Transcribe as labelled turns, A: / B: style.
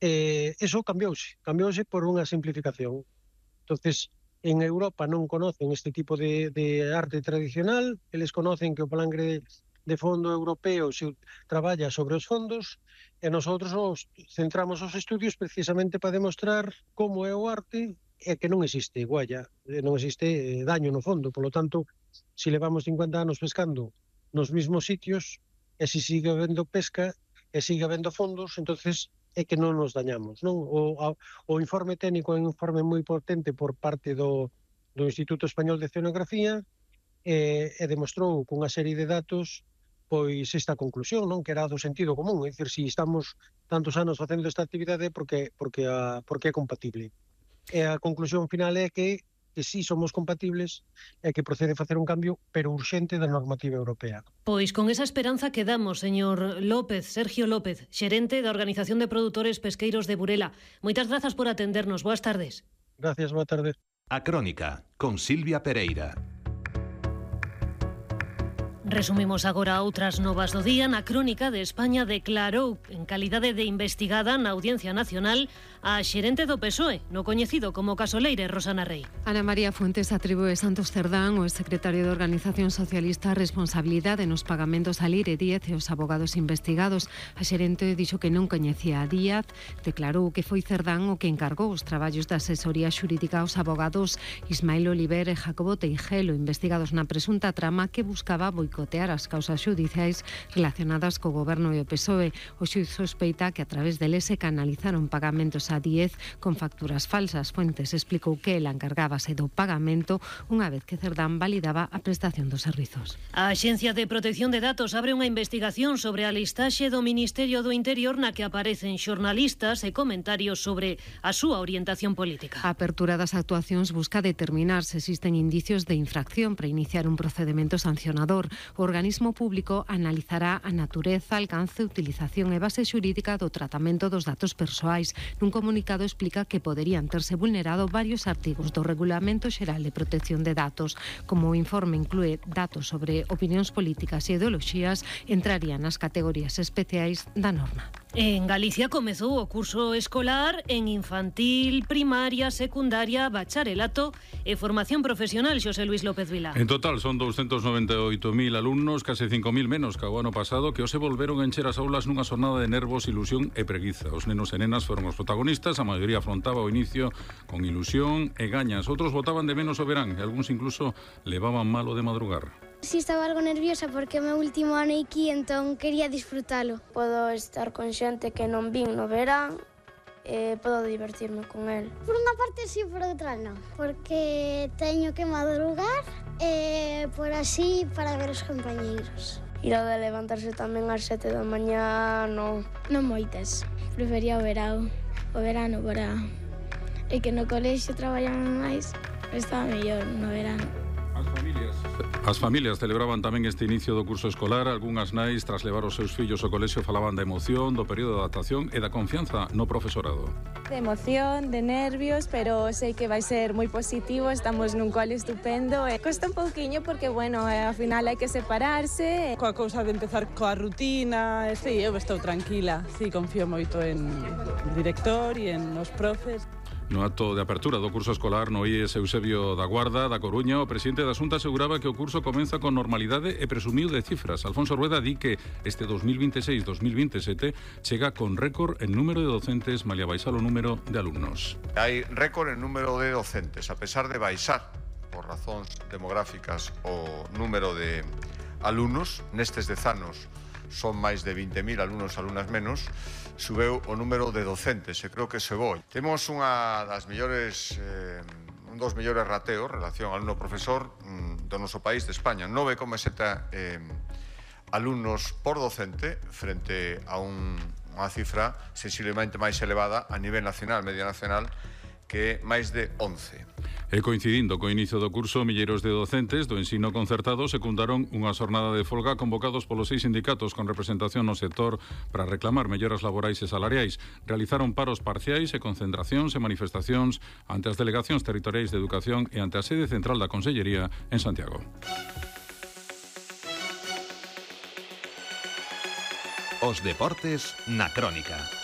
A: Eso cambiouse por unha simplificación. Entonces, en Europa non conocen este tipo de arte tradicional, eles conocen que o plan de fondo europeo se traballa sobre os fondos, e nosotros centramos os estudios precisamente para demostrar como é o arte e que non existe gualla, non existe daño no fondo. Por lo tanto, se levamos 50 anos pescando nos mismos sitios, e se sigue habendo pesca e sigue habendo fondos, entonces é que non nos dañamos, non? O informe técnico é un informe moi potente por parte do Instituto Español de Oceanografía e demostrou cunha serie de datos pois esta conclusión, non? Que era do sentido común, é dicir, se estamos tantos anos facendo esta actividade porque é compatible. E a conclusión final é que sí somos compatibles e que procede facer un cambio, pero urxente, da normativa europea.
B: Pois con esa esperanza quedamos, señor López, Sergio López, xerente da Organización de Produtores Pesqueiros de Burela. Moitas grazas por atendernos. Boas tardes.
A: Gracias, boa tarde.
C: A Crónica, con Silvia Pereira.
B: Resumimos agora outras novas do día. Na Crónica de España declarou en calidade de investigada na Audiencia Nacional a xerente do PSOE, no coñecido como caso Leire, Rosana Rey.
D: Ana María Fuentes atribúe Santos Cerdán, o secretario de Organización Socialista, a responsabilidade nos pagamentos a Leire Díaz e os abogados investigados. A xerente dixo que non coñecía a Díaz, declarou que foi Cerdán o que encargou os traballos de asesoría xurídica aos abogados Ismael Oliver e Jacobo Teijelo, investigados na presunta trama que buscaba boicotear as causas xudiciais relacionadas co goberno e o PSOE. O xuiz sospeita que a través deles se canalizaron pagamentos a Díez con facturas falsas. Fuentes explicou que ela encargábase do pagamento unha vez que Cerdán validaba a prestación dos servizos.
B: A Axencia de Protección de Datos abre unha investigación sobre a listaxe do Ministerio do Interior na que aparecen xornalistas e comentarios sobre a súa orientación política.
D: A apertura das actuacións busca determinar se existen indicios de infracción para iniciar un procedemento sancionador. O organismo público analizará a natureza, alcance, utilización e base xurídica do tratamento dos datos persoais. Nun comunicado explica que poderían terse vulnerado varios artigos do Regulamento Xeral de Protección de Datos. Como o informe inclúe datos sobre opinións políticas e ideoloxías, entrarían nas categorías especiais da norma.
B: En Galicia comezou o curso escolar en infantil, primaria, secundaria, bacharelato e formación profesional. Xosé Luis López Vilá.
E: En total son 298.000 alumnos, case 5.000 menos que o ano pasado, que hoxe volveron a encher as aulas nunha xornada de nervos, ilusión e preguiza. Os nenos e nenas foron os protagonistas, a maioría afrontaba o inicio con ilusión e gañas. Outros botaban de menos o verán e algúns incluso levaban malo de madrugar.
F: Si estaba algo nerviosa porque é o meu último ano aquí, entón quería disfrutalo.
G: Podo estar con xente que non vin no verán e podo divertirme con el.
F: Por unha parte sí, por outra non, porque teño que madrugar e por así para ver os compañeiros.
G: Ir ao de levantarse tamén ás 7 da mañá, non.
F: Non moitas, prefería o verano para... E que no colexio traballan máis, estaba mellor no verano.
E: As familias celebraban tamén este inicio do curso escolar. Algunhas nais, tras levar os seus fillos ao colexio, falaban da emoción, do período de adaptación e da confianza no profesorado.
H: De emoción, de nervios, pero sei que vai ser moi positivo. Estamos nun cole estupendo. Costa un pouquiño porque, bueno, ao final hai que separarse.
I: Coa cousa de empezar coa rutina, eu estou tranquila. Sí, confío moito en o director e en os profes.
E: No acto de apertura do curso escolar no IES Eusebio da Guarda, da Coruña, o presidente da Xunta aseguraba que o curso comeza con normalidade e presumiu de cifras. Alfonso Rueda di que este 2026-2027 chega con récord en número de docentes, malia baixar o número de alumnos.
J: Hai récord en número de docentes, a pesar de baixar por razóns demográficas o número de alumnos. Nestes 10 anos son máis de 20.000 alumnos, alumnas menos, subeu o número de docentes e creo que se voi. Temos un dos mellores rateos en relación alumno-profesor do noso país, de España, 9,7 alumnos por docente frente a unha cifra sensiblemente máis elevada a nivel nacional, media nacional, que é máis de 11.
E: E coincidindo co inicio do curso, milleiros de docentes do ensino concertado secundaron unha xornada de folga convocados polos 6 sindicatos con representación no sector para reclamar melloras laborais e salariais. Realizaron paros parciais e concentracións e manifestacións ante as delegacións territoriais de educación e ante a sede central da Consellería en Santiago.
C: Os deportes na Crónica.